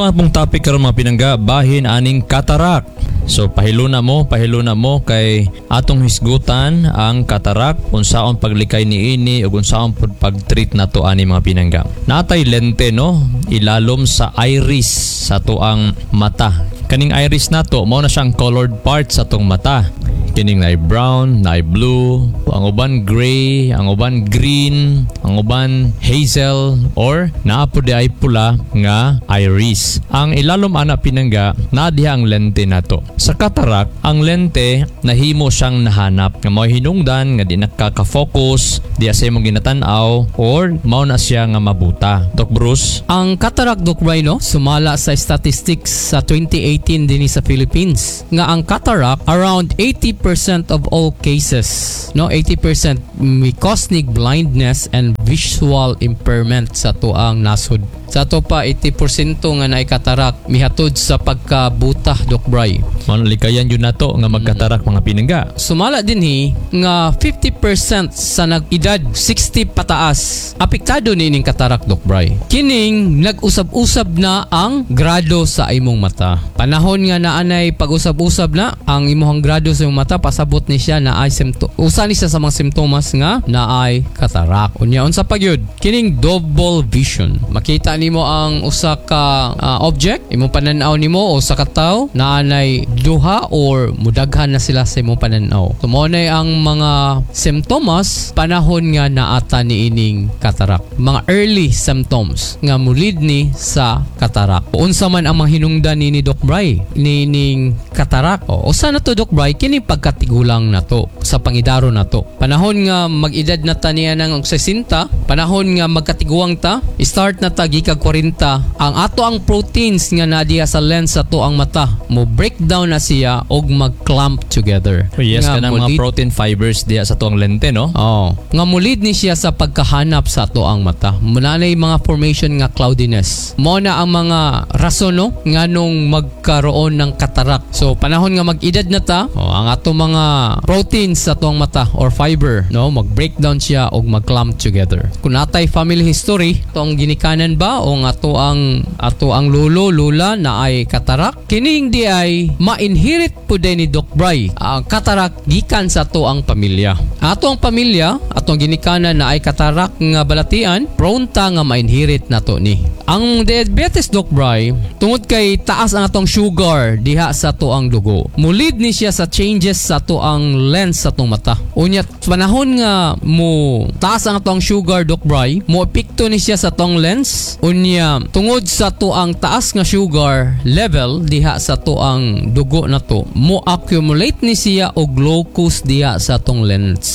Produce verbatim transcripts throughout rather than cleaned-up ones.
Ato ang pong topic karon, mga pinangga, bahin aning cataract. So pahiluna mo, pahiluna mo kay atong hisgutan ang cataract, unsaon paglikay niini ug unsaon pud pag-treat nato ani, mga pinangga. Natay lente, no, ilalom sa iris sa atoang mata. Kaning iris nato mao na siyang colored part sa atong mata. Kining naay brown, naay blue, ang uban gray, ang uban green, ang uban hazel or naa pod diay pula nga iris. Ang ilalom ana, pinangga, naa diha ang lente nato. Sa cataract, ang lente nahimo siyang nahanap nga mao hinungdan nga di nakaka-focus diya sa imong ginatan-aw or mao na siya nga mabuta. Doc Bruce? Ang cataract, Doc Bry, no, sumala sa statistics sa twenty eighteen dinhi sa Philippines nga ang cataract, around eighty percent of all cases, no, eighty percent may cause nig blindness and visual impairment sa atoang nasod. Sa ato pa, eighty percent nga naay cataract mihatod sa pagkabuta, Doc Bry. Mao na likayan yun nato nga magkatarak, mga pinangga. Sumala dinhi nga fifty percent sa nag-edad sixty pataas apektado niining cataract, Doc Bry. Kining nag-usab-usab na ang grado sa imong mata. Panahon nga naanay pag-usab-usab na ang imong grado sa imong mata, pasabot ni siya na ay sympto usa ni siya sa mga simptomas nga naay cataract. Unya unsa pa gyud? Kining double vision. Makita nimo ang usa ka ah, object, imong pananaw nimo o sa kataw naanay duha or mudaghan na sila sa imong pananaw. So mao na ang mga simptomas panahon nga naata niining cataract. Mga early symptoms nga mulid ni sa cataract. Unsa man ang mga hinungdan ni ni Doc Bry niining cataract? O usa na to, Doc Bry, kini pagkatigulang nato sa pangidaro nato. Panahon nga mag-edad na ta niya ng sesenta, panahon nga magkatiguang ta, start na ta gikag kwarenta, ang ato ang proteins nga nadiya sa lens sa ato ang mata mo breakdown na siya og mag-clump together. Oh, yes, Nga kanang mga mulid- protein fibers diya sa tuang lente, no? Oh, nga mulid ni siya sa pagkahanap sa ato ang mata. Muna na yung mga formation nga cloudiness. Mao na ang mga rason, no, nganong magkaroon ng cataract. So panahon nga mag-edad na ta, oh, ang ato mga proteins sa atoang mata or fiber, no, mag-breakdown siya og mag-clump together. Kung natay family history, atong ginikanan ba o ang ato ang ato ang lolo, lola na ay cataract, kining di ay ma-inherit pud ni Doc Bry ang cataract gikan sa ato ang pamilya. Ato ang pamilya, atong ginikanan na ay cataract nga balatian, prone ta nga ma-inherit nato ni. Ang diabetes, Doc Bry, tungod kay taas ang atong sugar diha sa ato ang dugo, mulid ni siya sa changes sa ato ang lens sa atong mata. Unya panahon nga mo taas ang atong sugar, Doc Bry, mo epekto ni siya sa atong lens. Unya tungod sa ato ang taas nga sugar level diha sa ato ang dugo nato, mo accumulate ni siya og glucose diha sa atong lens.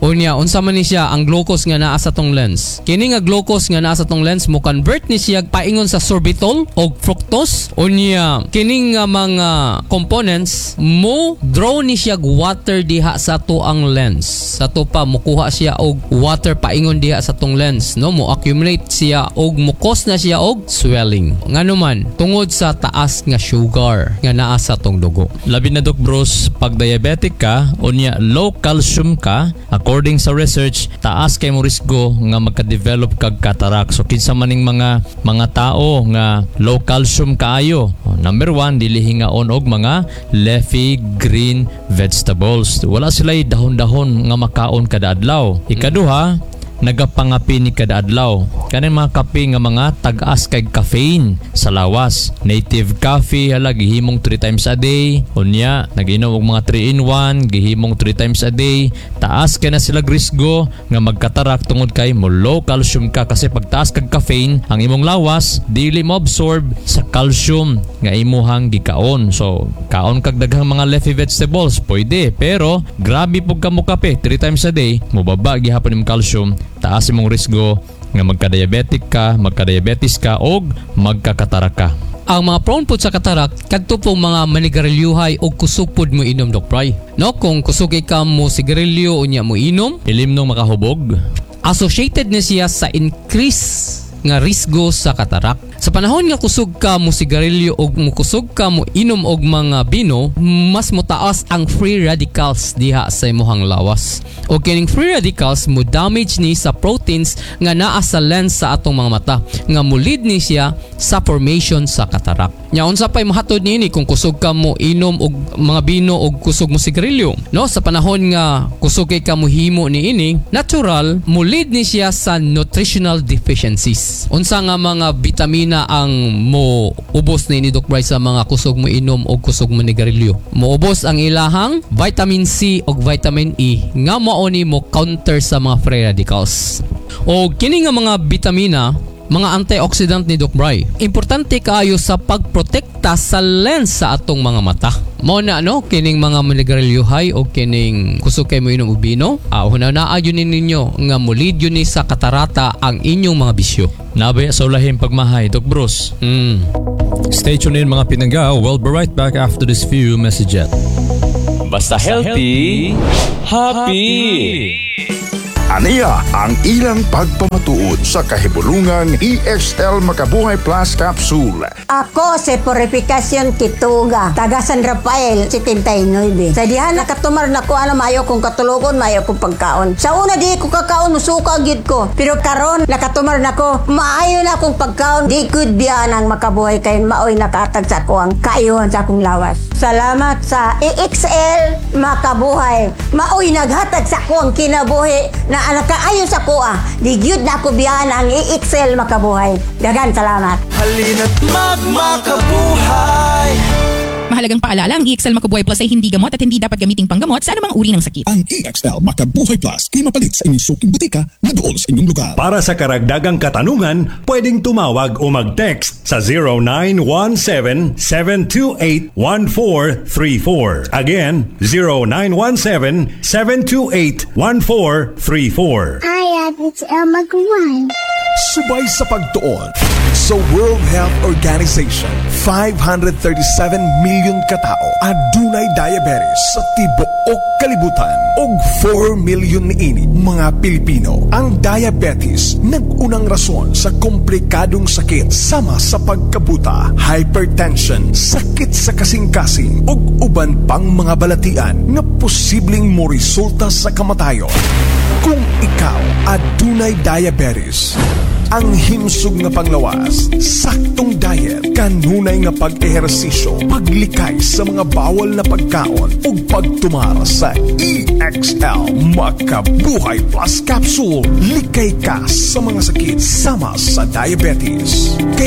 Unya unsa man ni siya ang glucose nga naa sa atong lens? Kini nga glucose nga naa sa atong lens mo convert ni siya paingon sa sorbitol og fructose. Unya kining nga mga components mo draw ni siya og water diha sa ato ang lens. Sa ato pa mukuha siya og water paingon diha sa atong lens, no, mo accumulate siya og mo cause na siya og swelling. Ngano man? Tungod sa taas nga sugar nga naa sa atong dugo. Labi na, Doc Bruce, pag diabetic ka, unya low calcium ka, according sa research, taas kay mo risgo nga magka-develop kag cataract. So kinsa maning mga mga tao nga low calcium kaayo? Oh, number one, dili hingaon og mga leafy green vegetables. Wala sila dahon-dahon nga makaon kada adlaw. Ikaduha, nagapangapi ni kada adlaw. Kaning mga kape nga mga tag-as kay caffeine sa lawas. Native coffee hala gihimong three times a day. Unya naginom og mga three in one gihimong three times a day. Taas kay na sila risgo nga magkatarak tungod kay mo low calcium ka kasi pag taas kag caffeine, ang imong lawas dili mo absorb sa calcium nga imuhang gikaon. So kaon kag daghang mga leafy vegetables pwede, pero grabe pug ka mo kape three times a day, mobaba gihapon imong calcium, taas imong risgo nga magka-diabetic ka, magka-diabetes ka og magkakatarak ka. Ang mga prone pod sa cataract kadto pong mga manigarilyohay og kusog pod mo inom, Doc Bry. No, kung kusog ka mo sigarilyo unya mo inom, Ilimnong makahubog. Associated ni siya sa increase nga risgo sa cataract. Sa panahon nga kusog ka mo sigarilyo og mukusog ka mo inom og mga bino, mas motaas ang free radicals diha sa imong lawas. O kining free radicals mo damage ni sa proteins nga naa sa lens sa atong mga mata nga mo-lead ni siya sa formation sa cataract. Nya, unsa pay mahatod niini kung kusog ka mo inom og mga bino og kusog mo sigarilyo? No, sa panahon nga kusog kay ka mohimo niini, natural mo-lead ni siya sa nutritional deficiencies. Unsa nga mga bitamina ang mo ubos ni Doc Bryce sa mga kusog mo inom og kusog mo nigarilyo? Moubos ang ilahang vitamin C og vitamin E nga mao ni mo counter sa mga free radicals. O kini nga mga bitamina, mga antioxidant ni Doc Bry. Importante kaayo sa pagprotekta sa lens sa atong mga mata. Mao na, no, kining mga manigarilyohay o kining kusog kay mo inom og bino, ah, hunahunaa gyud ni ninyo nga mo-lead gyud ni sa katarata ang inyong mga bisyo. Nabay sa ulahing pagmahay, Doc Bruce. Mm. Stay tuned in, mga pinangga. We'll be right back after this few messages. Basta healthy, happy. Aniya ang ilang pagpamatuod sa kahibulungang E X L Makabuhay Plus Capsule. Ako si Purificacion Kituga, taga San Rafael, setenta y nueve. Sa diha nakatumar na ko ano, maayo kong katulogon, maayo kong pagkaon. Sa una di ko kakaon, musuka gyud ko. Pero karon nakatumar na ko, maayo na akong pagkaon. Di gud biya ang Makabuhay kay maoy nakatag sa ako ang kaayuhan sa akong lawas. Salamat sa E X L Makabuhay. Maoy naghatag sa ako ang kinabuhi na nakaayo sa kuha. Di gyud na ako biyahan ang E X L Makabuhay. Daghan salamat. Halina't magmakabuhay. Mahalagang paalala, ang E X L Makabuhay Plus ay hindi gamot at hindi dapat gamiting panggamot sa anumang uri ng sakit. Ang E X L Makabuhay Plus kay mapalit sa inyong suking butika na duol sa inyong lugar. Para sa karagdagang katanungan, pwedeng tumawag o mag-text sa zero nine one seven, seven two eight, one four three four. Again, zero nine one seven, seven two eight, one four three four. Hi, it's Elma Guan. Subay sa pagtuon sa World Health Organization, five hundred thirty-seven million katao adunay diabetes sa tibuok kalibutan ug four million niini mga Pilipino. Ang diabetes nag-unang rason sa komplikadong sakit sama sa pagkabuta, hypertension, sakit sa kasing-kasing ug uban pang mga balatian nga posibleng moresulta sa kamatayon. Kung ikaw adunay diabetes, ang himsog nga panglawas, saktong diet, kanunay nga pag-ehersisyo, paglikay sa mga bawal na pagkaon ug pagtumar sa E X L Makabuhay Plus Capsule, likay ka sa mga sakit sama sa diabetes.